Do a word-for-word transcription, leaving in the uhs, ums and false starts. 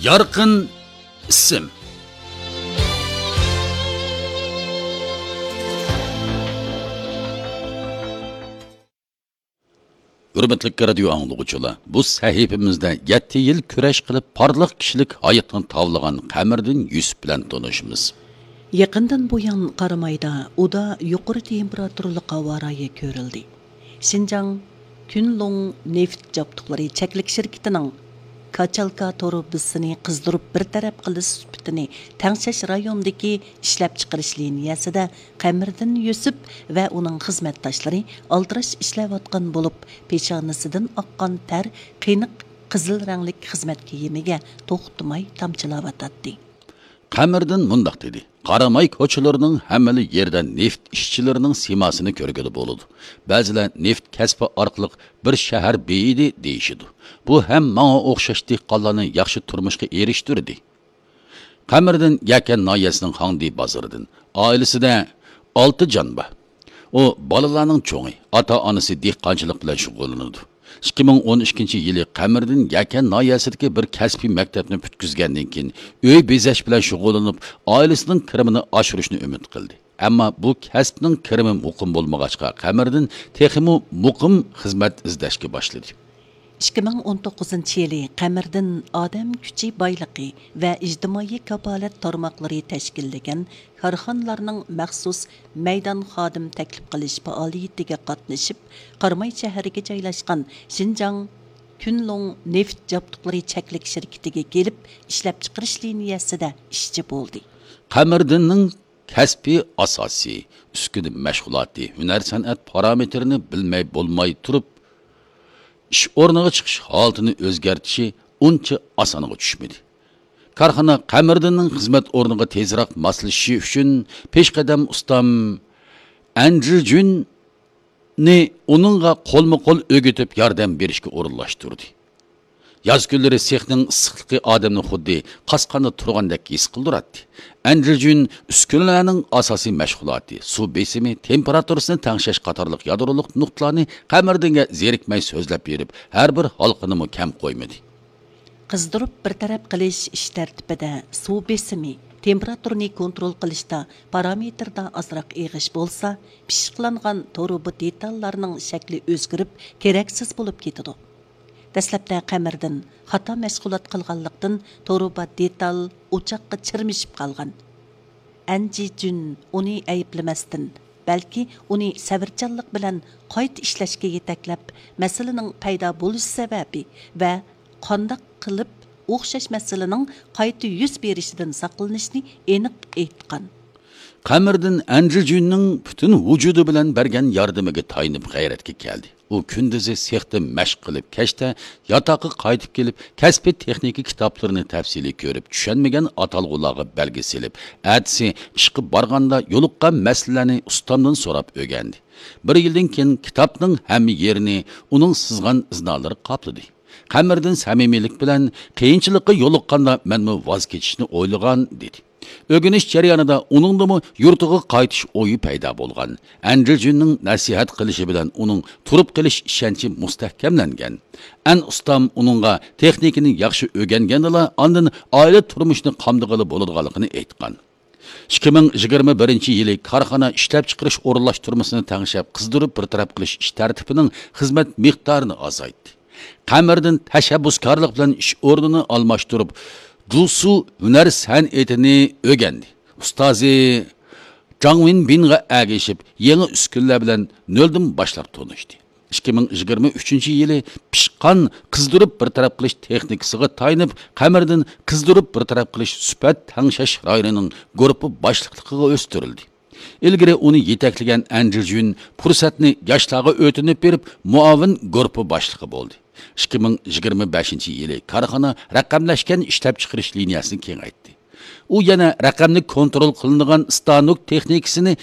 يارقىن ئىسىم. ھۆرمەتلىك رادىيو ئاڭلىغۇچىلار، بۇ سەھىپىمىزدە يەتتە يىل كۈرەش قىلىپ، پارلاق كىشىلىك ھاياتنى تاۋلىغان قەمەردىن يۈسۈپ بىلەن تونۇشىمىز. يېقىندىن بۇيان قارامايدا ئۇدا يۇقىرى تېمپېراتۇرىلىق ھاۋا رايى كۆرۈلدى. شىنجاڭ كۈنلۇڭ نېفىت جابدۇقلىرى چەكلىك شىركىتىنىڭ كاچالكا تۇرۇبىسىنى قىزدۇرۇپ بىر تەرەپ قىلىش سۈپىتىنى تەڭشەش رايونىدىكى ئىشلەپچىقىرىش لىنىيەسىدە قەمەردىن يۈسۈپ ۋە ئۇنىڭ خىزمەتداشلىرى ئالدىراش ئىشلەۋاتقان بولۇپ، پېشانىسىدىن ئاققان تەر قېنىق قىزىل رەڭلىك خىزمەت كىيىمىگە توختىماي تامچىلاۋاتاتتى. قەمەردىن مۇنداق دېدى: «قاراماي كوچىلىرىنىڭ ھەممىلا يېرىدە نېفىت ئىشچىلىرىنىڭ سىيماسىنى كۆرگىلى بولىدۇ. بەزىلەر نېفىت كەسپى ئارقىلىق بىر شەھەر بېيىدى دېيىشىدۇ. بۇ ھەم ماڭا ئوخشاش دېھقانلارنى ياخشى تۇرمۇشقا ئېرىشتۈردى.» قەمەردىن يەكەن ناھىيەسىنىڭ خاڭدى بازىرىدىن. ئائىلىسىدە ئالتە جان بار. ئۇ بالىلارنىڭ چوڭى، ئاتا-ئانىسى دېھقانچىلىق بىلەن شۇغۇللىنىدۇ. ئىككى مىڭ ئون ئىككىنچى يىلى قەمەردىن يەكەن ناھىيەسىدىكى بىر كەسپىي مەكتەپنى پۈتكۈزگەندىن كېيىن، ئۆي بېزەش بىلەن شۇغۇللىنىپ، ئائىلىسىنىڭ كىرىمىنى ئاشۇرۇشنى ئۈمىد قىلدى. ئەمما بۇ كەسىپنىڭ كىرىمى مۇقىم بولمىغاچقا، قەمەردىن تېخىمۇ مۇقىم خىزمەت ئىزدەشكە باشلىدى. ئىككى مىڭ ئون توققۇزىنچى يىلى قەمەردىن ئادەم كۈچى بايلىقى ۋە ئىجتىمائىي كاپالەت تارماقلىرى تەشكىللىگەن كارخانىلارنىڭ مەخسۇس مەيدان خادىم تەكلىپ قىلىش پائالىيىتىگە قاتنىشىپ، قاراماي شەھىرىگە جايلاشقان شىنجاڭ كۈنلۇڭ نېفىت جابدۇقلىرى چەكلىك شىركىتىگە كېلىپ، ئىشلەپچىقىرىش لىنىيەسىدە ئىشچى بولدى. قەمەردىننىڭ كەسپىي ئاساسى، ئۈسكۈنە مەشغۇلاتى، ھۈنەر-سەنئەت پارامېتىرىنى بىلمەي بولماي تۇرۇپ، ئىش ئورنىغا چىقىش ھالىتىنى ئۆزگەرتىشى ئۇنچە ئاسانغا چۈشمىدى. كارخانا قەمەردىننىڭ خىزمەت ئورنىغا تېزراق ماسلىشىشى ئۈچۈن پېشقەدەم ئۇستام ئەنجىجۈننى ئۇنىڭغا قولمۇ قول ئۆگىتىپ ياردەم بېرىشكە ئورۇنلاشتۇردى. ياز كۈنلىرى سېخنىڭ ئىسسىقلىقى ئادەمنى خۇددى قاسقاندا تۇرغاندەك ھېس قىلدۇراتتى. ئەنجىجۈن ئۈسكۈنىلەرنىڭ ئاساسىي مەشغۇلاتى، سۇ بېسىمى، تېمپېراتۇرىسىنى تەڭشەش قاتارلىق يادرولۇق نۇقتىلارنى قەمەردىنگە زېرىكمەي سۆزلەپ بېرىپ، ھەر بىر ھالقىنىمۇ كەم قويمىدى. قىزدۇرۇپ بىر تەرەپ قىلىش ئىش تەرتىپىدە سۇ بېسىمى، تېمپېراتۇرىنى كونترول قىلىشتا پارامېتىردا ئازراق ئېغىش بولسا، پىششىقلانغان تۇرۇبا دېتاللارنىڭ شەكلى ئۆزگىرىپ، كېرەكسىز بولۇپ كېتىدۇ. دەسلەپتە قەمەردىن خاتا مەشغۇلات قىلغانلىقتىن، تۇرۇبا دېتال ئوچاققا چىرمىشىپ قالغان. ئەنجىجۈن ئۇنى ئەيىبلىمەستىن، بەلكى ئۇنى سەۋرچانلىق بىلەن قايتا ئىشلەشكە يېتەكلەپ، مەسىلىنىڭ پەيدا بولۇش سەۋەبى ۋە قانداق قىلىپ ئوخشاش مەسىلىنىڭ قايتا يۈز بېرىشىدىن ساقلىنىشنى ئېنىق ئېيتقان. قەمەردىن ئەنجىجۈننىڭ پۈتۈن ۋۇجۇدى بىلەن بەرگەن ياردىمىگە تايىنىپ غەيرەتكە كەلدى. ئۇ كۈندۈزى سېختا مەشىق قىلىپ، كەچتە ياتاققا قايتىپ كېلىپ، كەسپىي تېخنىكا كىتابلىرىنى تەپسىلىي كۆرۈپ، چۈشەنمىگەن ئاتالغۇلارغا بەلگە سېلىپ، ئەتىسى ئىشقا بارغاندا يولۇققان مەسىلىلەرنى ئۇستامدىن سوراپ ئۆگەندى. بىر يىلدىن كېيىن كىتابنىڭ ھەممە يېرىنى ئۇنىڭ سىزغان ئىزنالىرى قاپلىدى. قەمەردىن سەمىمىيلىك بىلەن، «قىيىنچىلىققا يولۇققاندا مەنمۇ ۋاز كېچىشنى ئويلىغان» دېدى. ئۆگىنىش جەريانىدا ئۇنىڭدىمۇ يۇرتىغا قايتىش ئويى پەيدا بولغان. ئەنجىجۈننىڭ نەسىھەت قىلىشى بىلەن ئۇنىڭ تۇرۇپ قېلىش ئىشەنچى مۇستەھكەملەنگەن. ئەن ئۇستام ئۇنىڭغا تېخنىكىنى ياخشى ئۆگەنگەندىلا، ئاندىن ئائىلە تۇرمۇشىنى قامدىغىلى بولىدىغانلىقىنى ئېيتقان. ئىككى مىڭ يىگىرمە بىرىنچى يىلى كارخانا ئىشلەپچىقىرىش ئورۇنلاشتۇرمىسىنى تەڭشەپ، قىزدۇرۇپ بىر تەرەپ قىلىش ئىش تەرتىپىنىڭ خىزمەت مىقدارىنى ئازايتتى. قەمەردىن تەشەببۇسكارلىق بىلەن ئىش ئورنىنى ئالماشتۇرۇپ، جۇسۇ ھۈنەر سەنئىتىنى ئۆگەندى. ئۇستازى جاڭ ۋىنبىنغا ئەگىشىپ، يېڭى ئۈسكۈنىلەر بىلەن نۆلدىن باشلاپ تونۇشتى. ئىككى مىڭ يىگىرمە ئۈچىنچى يىلى پىشقان قىزدۇرۇپ بىر تەرەپ قىلىش تېخنىكىسىغا تايىنىپ، قەمەردىن قىزدۇرۇپ بىر تەرەپ قىلىش سۈپەت تەڭشەش رايونىنىڭ گۇرۇپپا باشلىقلىقىغا ئۆستۈرۈلدى. ئىلگىرى ئۇنى يېتەكلىگەن ئەنجىجۈن پۇرسەتنى ياشلارغا ئۆتۈنۈپ بېرىپ، مۇئاۋىن گۇرۇپپا باشلىقى بولدى. ئىككى مىڭ يىگىرمە بەشىنچى يىلى كارخانا رەقەملەشكەن ئىشلەپچىقىرىش لىنىيەسىنى كېڭەيتتى. ئۇ يەنە رەقەملىك كونترول قىلىنىدىغان ستانوك تېخنىكىسىنى